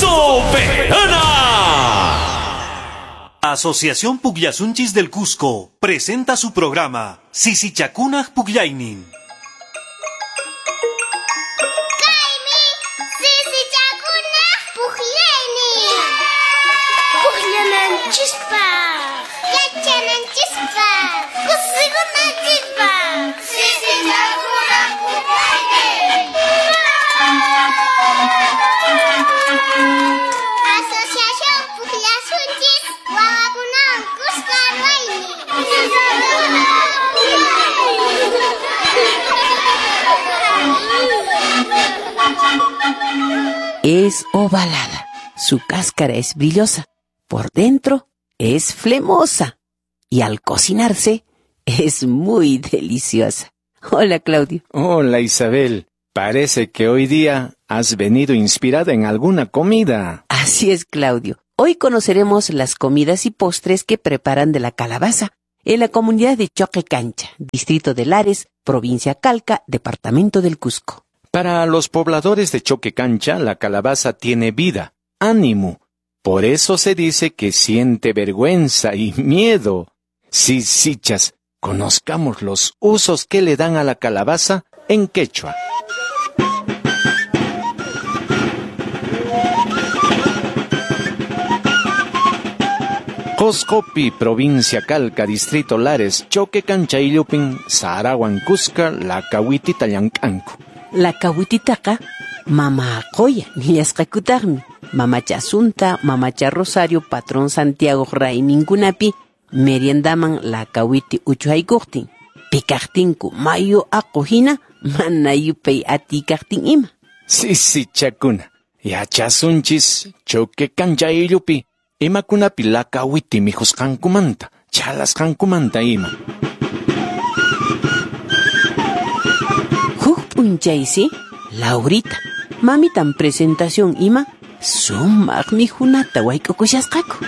¡Soberana! Asociación Pugllasunchis del Cusco presenta su programa Sisichakunaj Pugllaynin. Kaymi sisichakunaj pukllaynin. Pukllananchispaq, yachananchispaq, kusikunanchispaq. Sisichakunaj pukllaynin. Asociación Pugllasunchis wawakunawan kuska ruwaynin. Es ovalada, su cáscara es brillosa, por dentro es flemosa y al cocinarse es muy deliciosa. Hola, Claudio. Hola, Isabel. Parece que hoy día has venido inspirada en alguna comida. Así es, Claudio. Hoy conoceremos las comidas y postres que preparan de la calabaza en la comunidad de Choquecancha, distrito de Lares, provincia Calca, departamento del Cusco. Para los pobladores de Choquecancha, la calabaza tiene vida, ánimo. Por eso se dice que siente vergüenza y miedo. Sí, sichas, conozcamos los usos que le dan a la calabaza en quechua. Qosqopi, provincia Calca, distrito Lares, Choquecancha Illupin, Sarawan Cusca, la kawitita llank'anku. La kawititaqa mama qoya nillasqakutaqmi. Mamacha Asunta, mamacha Rosario, patrón Santiago rayminkunapi meriendaman la kawiti uchuhaykuqtin. Pikaqtinku mayu aqu hina mana yupay atikaqtin ima. Sisichakuna, yachasunchis Choquecancha Illupi, imakunapi la kawiti mikhusqankumanta, chhalasqankumanta ima. Huk p'unchaysi, Laurita, mamitan presentación ima, sumaq mikhunata wayk'ukushasqaku.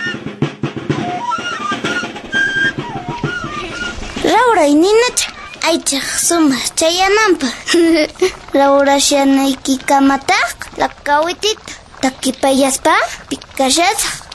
Laura y Ninacha, aychaq sumaq chayananpaq. Laura shanaykiikamataq la kawitita takipayaspa pikashasaq.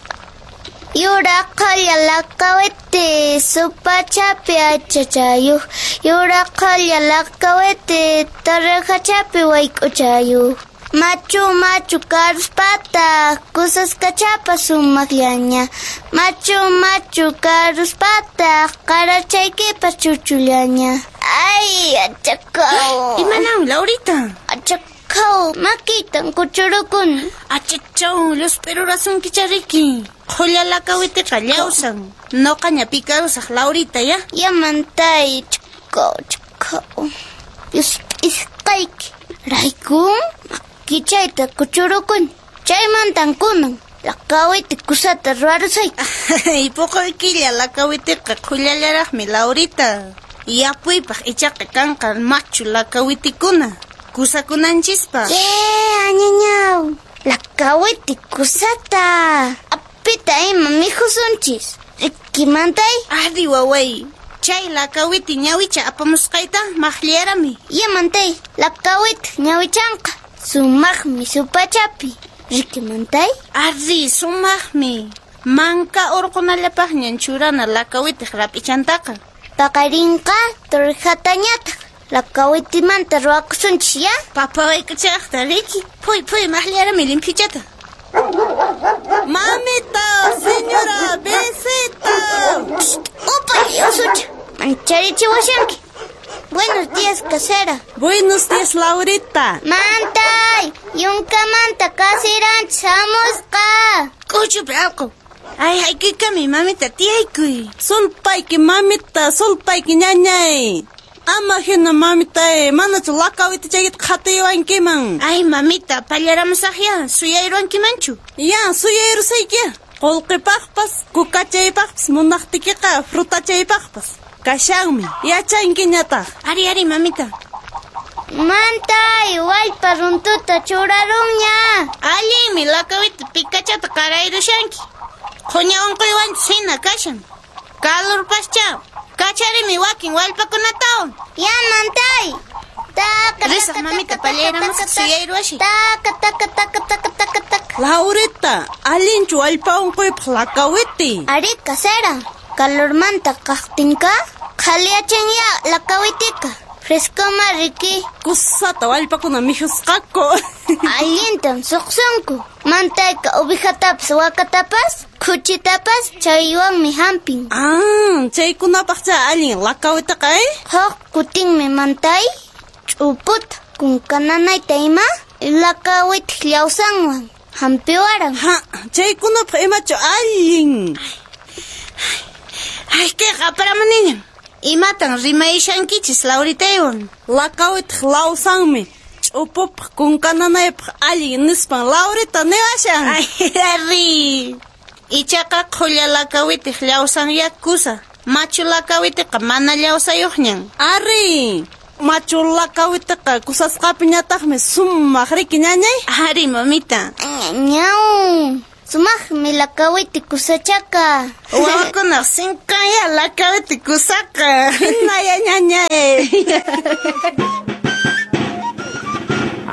Yuraq qhalla lakawiti supachapi aychachayuq. Yuraq qhalla lakawiti tarrajachapi wayk'uchayuq. Machu machu karuspata kusaskachapa sumaqllaña. Machu machu karuspata qarachaykipas chuchullaña. Ay, achakaw. Imanaw, Laurita? Achakaw, makitan kuchurukuni. Achachaw, llusp'irurasunkicha riki. Qhulla lakawitiqa llawsan. Nuqaña pikarusaq, Laurita, ya? Yamantay, chakaw, chakaw. Llusp'isqayki. Raykun makichayta kuchurukuni. Chaymantan kunan lakawiti kusata ruwarusayki. Puquykilla lakawitiqa qhullallaraqmi, Laurita. Yapuypaq ichaqa kanqa machu lakawitikuna. Kusakunanchispaq. Che, añañaw. Lakawiti kusata. Apita ima mikhusunchis. Rikimantay? Ari waway. Chay lakawiti ñawicha apamusqayta maqllarami. Yamantay, lakawiti ñawichanqa. Sumaqmi supachapi. Rikimantay? Ari, sumaqmi. Manka urqunallapaqñan churana lakawitiq rap'ichantaqa. Paqarinqa torrijatañataq. Lakawitimanta ruwakusunchis, ya? Papa wayk'uchaqta, riki. Phuy, phuy, maqllarami limphichata. Mamita, señora, besita. Upallay, usucha. Mancharichiwashanki. Buenos días, casera. Buenos días, Laurita. Mantay, yunkamanta kasiranchis hamusqa. K'uchupi allqu. Ay, hayk'uykami, mamita, tiyaykuy. Sulpayki, mamita, sulpayki, ñañay. Ama hina, mamita, manachu lakawita chaykita qhatiywankiman. Ay, mamita, pallaramusaqya, suyayruwankimanchu. Ya, suyayrusayki. Qullqipaqpas, kukachaypaqpas, munaqtikiqa frutachaypaqpas. Kashanmi, yachankiñataq. Ari, ari, mamita. Mantay, wallpa runtuta churarunña. Allinmi lakawita pikachata qarayrushanki. Qhuña unquywanchus hina kashan. Kalurpascha. Kacharimi wakin wallpakunatawan. Ya, mantay. Taka, Risaq, taka, mamita, taka, pallayramusaq taka, suyayruwashi. Taka, taka, taka, taka, taka, taka. Laurita, allinchu allpa unquypaq lakawiti. Ari casera, calormanta kaqtinqa qhaliyachinya lakawitika. Frescoma riki. Kusata wallpakuna mikhusqaku. Allintam suqsunku. Mantayka ovejatapas wakatapas khuchitapas chaywanmi hampin. Ah, chaykunapaqcha allin lakawitaqa, eh? Huk kutinmi mantay ch'uputa kunkananayta ima lakawitaq llawsanwan hampiwaran. Ha, chaykunapaq imachu allin. Ay, kayqa aparamuniñan. Imatan rimayashankichis Lauritaywan? Lakawitaq lawsanmi ch'upupaq kunkananaypaq allin nispan Laurita niwashan. Ay, ari. Ichaqa qhulla lakawitiq llawsanya kusa. Machu lakawitiqa mana llawsayuqñan. Ari, machu lakawitiqa kusasqapiñataqmi sumaq riki ñañay. Ari, mamita. Ñaw. Sumaqmi lakawiti kusachaka. Wawakunaq sinkanya lakawiti kusaqa. Hinaya ñañay.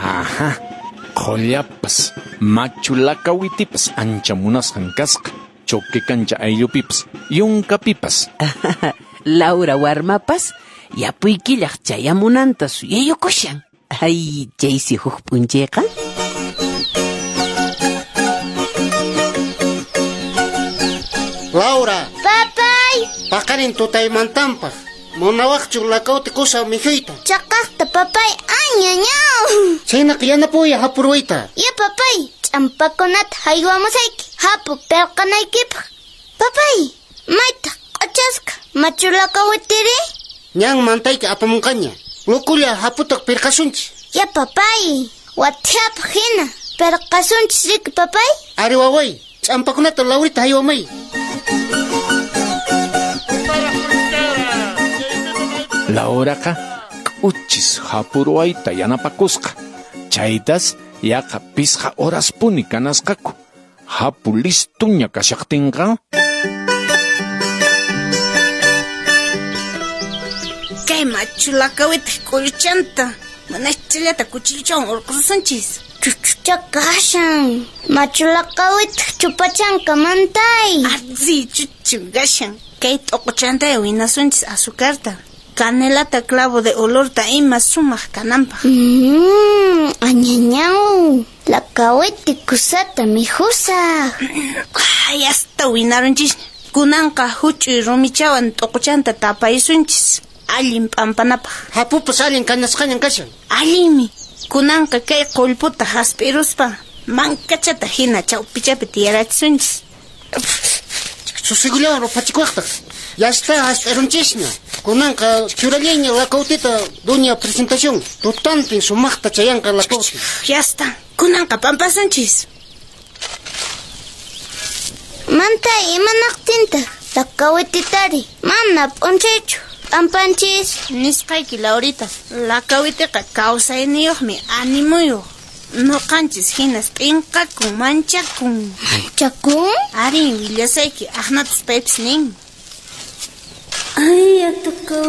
Ajá, qhullapas, machu lakawitipas ancha munasqan kasqa. Choquecancha ayllupipas, yunkapipas. Laura warmapas yapuykillaq chayamunanta suyayukushan. Ay, chaysi huk p'unchayqa. Laura. Papay. Paqarin tutaymantanpaq. Munawaqchu lakawti kusa mikhuyta. Chaqaqta papay añañaw. Chaynaqa yanapuya hapurwayta. Ya papay, ch'ampakunata haywamusayki hapu pirqanaykipaq. Papay, maytaq q'achasqa machu lakawitiri? Ñan mantayki apamunqaña. Lukulla haputaq pirqasunchis. Ya papay, wathiapaq hina pirqasunchis riki papay. Ari waway, ch'ampakunata Laurita haywamay. Lauraqa k'uchis hapurwayta yanapakusqa. Chaytas yaqa pisqa horaspuni kanasqaku. Hapu listuña kashaqtinqa. Kay machu lakawitiq k'ulluchanta manachallata kuchilluchawan urqusunchis. Chuchucha kashan. Machu lakawitiq chupachanka mantay. Arzi chuchu kashan. Kay t'uquchanta winasunchis azucarta. Canelata clavo de olorta ima sumaq kananpaq. Añañaw, lakawiti kusata mikhusaq. Ay, hasta winarunchis. Kunanqa huch'uy rumichawan t'uquchanta tapaysunchis. Allin p'ampanapaq. Hapupas allin kanasqañan kashan. Allinmi. Kunanqa kay qullputa hasp'iruspa mankachata hina chawpichapi tiyarachisunchis. Susigullawan ruphachikuwaqtaq. Ya está hasp'irunchisña. Kunanqa churallayña lakawtita doña presentación. Tutantin sumaqta chayanqa lakawti. Ya está. Kunanqa p'ampasunchis. Mantay imanaqtintaq lakawititari mana p'unchaychu p'ampanchis. Nisqayki Laurita, lakawitiqa kawsayniyuqmi animuyuq. Nuqanchis hinas p'inqakun manchakun. Manchakun? Ari, willasayki aqnatas paypis nin. Ay, atuqa.